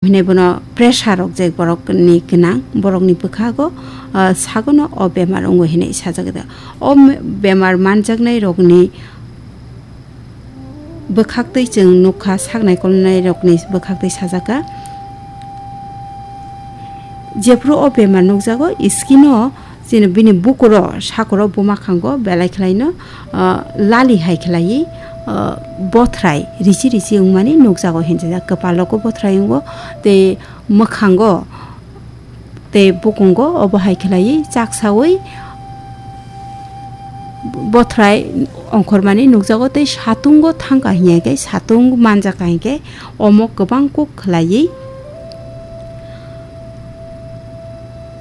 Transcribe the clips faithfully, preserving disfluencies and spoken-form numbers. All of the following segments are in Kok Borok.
Hinwi bono pressure rok je borok ni gwnang, borok ni bwkhago, ah, sagono o bemar wngo hinwi sajak da. O me-, bemar manjaknai rok ni bwkhaktwi chwng nukha, sak naikolnai rok ni bwkhaktwi sajak kha. Jephru o bemar nukjago, skin o Chini bini bukuro sakuro buma khango belai khlaino, ah, lali hai khlaiwi, ah, bothrai risi risi wngmani nukjago hinjajak. Kwpalo kok bothrai wngo tei mwkhango tei bukungo obo hai khlaiwi chaksawi bothrai ongkhormani nukjago tei satungo thangkha hinkhe satung manjakha hinkhe omo kwbang kok khlaiwi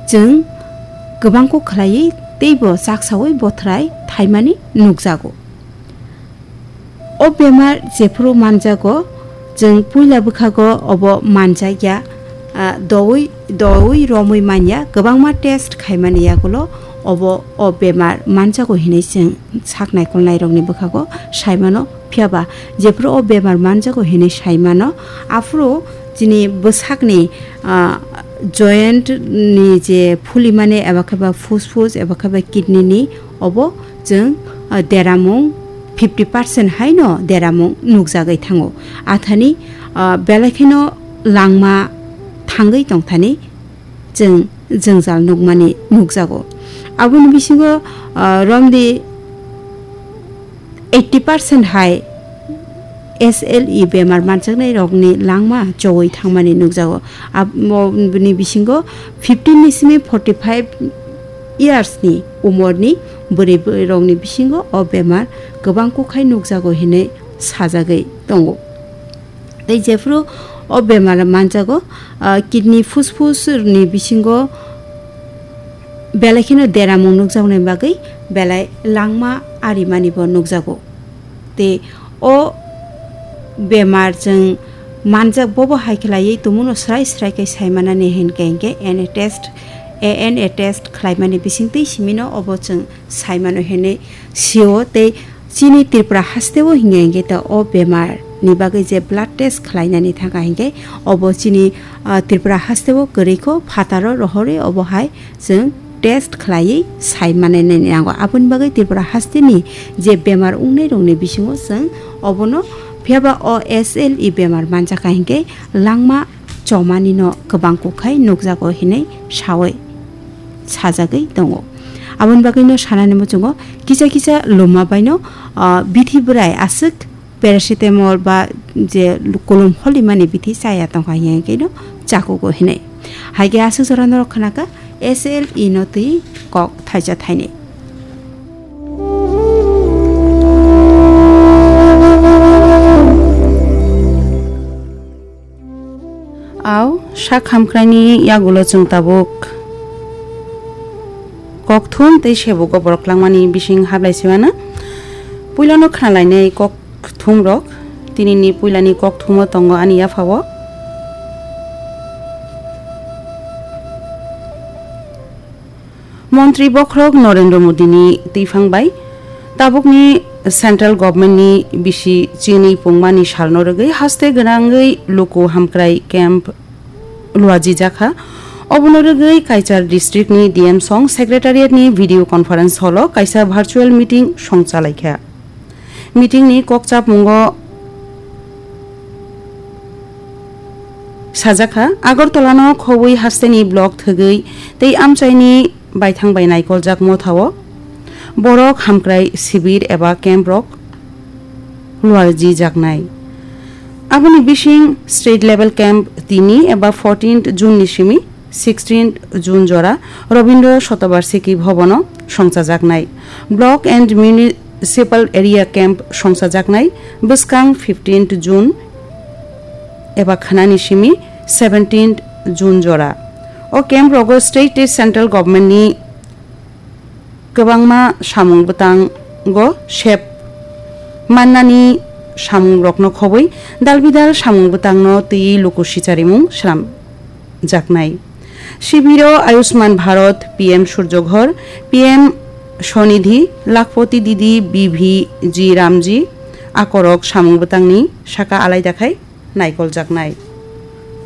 Chwng kwbangkuk khlaiwi teibo chaksawi bothrai thaimani nukjago. O bemar jephuru manjago, chwng puila bwkhago obo manjakya, ah, doui, doui romwi manya, kwbangma test khaimani yagulo obo o bemar manjago hinwi chwng sak naikolnairokni bwkhago saimano. Phiyaba jephuru o bemar manjago hinwi saimano, aphuru chini bwsakni, ah, joint ni je phulimani eba khe ba phusphus eba khe ba kidney ni obo chwng, ah, deramung fifty percent haino deramung nukjagwi thango. Athani, ah, belai kheno langma thangwi tongthani chwng jwngjal nukmani nukjago. Aboni bisingo, ah, romdi eighty percent hai S L E bemar manjaknai rokni langma chowi thangmani nukjago. Aboni bisingo fifteen ni simi forty five years ni umor ni bwrwi rokni bisingo o bemar kwbang kukhai nukjago hinwi sajagwi tongo. Tei jephuru o bemar manjago, ah, kidney, phusphus ni bisingo belai kheno deramung nukjaknai bagwi belai langma arimani bo nukjago. Tei o bemar chwng manjak bobo hai khlaiwi tongmano srai srai khe saimanani hinkhe hinkhe N A test, A N A test khlaimani bisingtwi simino obo chwng saimano hinwi sio tei chini Tripura hasteo hinkhe hinkhe ta o bemar ni bagwi je blood test khlainani thangkha hinkhe obo chini, ah, Tripura hasteo kwrwikho phataro rohorwi obo hai chwng test khlaiwi saimanani nango. Aboni bagwi Tripura hasteni je bemar wngnairokni bisingo chwng obono phiyaba o S L E bemar manjakha hinkhe langma chomanino kwbang kukhai nukjago hinwi sawi sajagwi tongo. Aboni bagwino sanani muchungo kisa kisa luma baino, ah, bithi bwrai aswk paracetamol ba je kolom holimani bithi chaya tongkha hinkhe no chakugo hinwi. Haikhe aswk jora norok khnakha S L E no twi kok thaisa thainwi. Au, sak hamkraini yagulo chwng tabuk kokthum tei sebugo borok langmani bising hablai simana. Puilano khnalainai kokthumrok, tinini puilani kokthumo tongo ani yaphao. Montri bokhorok Narendra Modini twiphang bai tabukni central government ni bisi chinwi pungmani salno rwgwi haste gwnangwi luku hamkrai camp luajijakha. Obono rwgwi Kaichar district ni D M song secretariat ni video conference hall o kaisa virtual meeting songchalaikha. Meeting ni kokchapmungo sajakha, Agartala no khobwi hasteni block thwgwi tei amchaini baithang bai naikoljak mothao borok hamkrai sibir eba camp rok luajijaknai. Aboni bising state level camp tini eba fourteenth June ni simi sixteenth June jora Rabindra Shatabarshiki Bhavan o songchajaknai. Block and Municipal Area Camp songchajaknai bwskang fifteenth June eba khanani simi seventeenth June jora. O camp rogo state tei central government ni kwbangma samung bwtango sep mannani samungrokno khobwi dalbidal samung bwtangno twiwi luku sicharimung swnamjaknai. Shibiro Ayushman Bharat, P M Surjo Ghar, P M Swanidhi, Lakhpati Didi, B V G Ramji akorok samung bwtangni saka alaida khai naikoljaknai.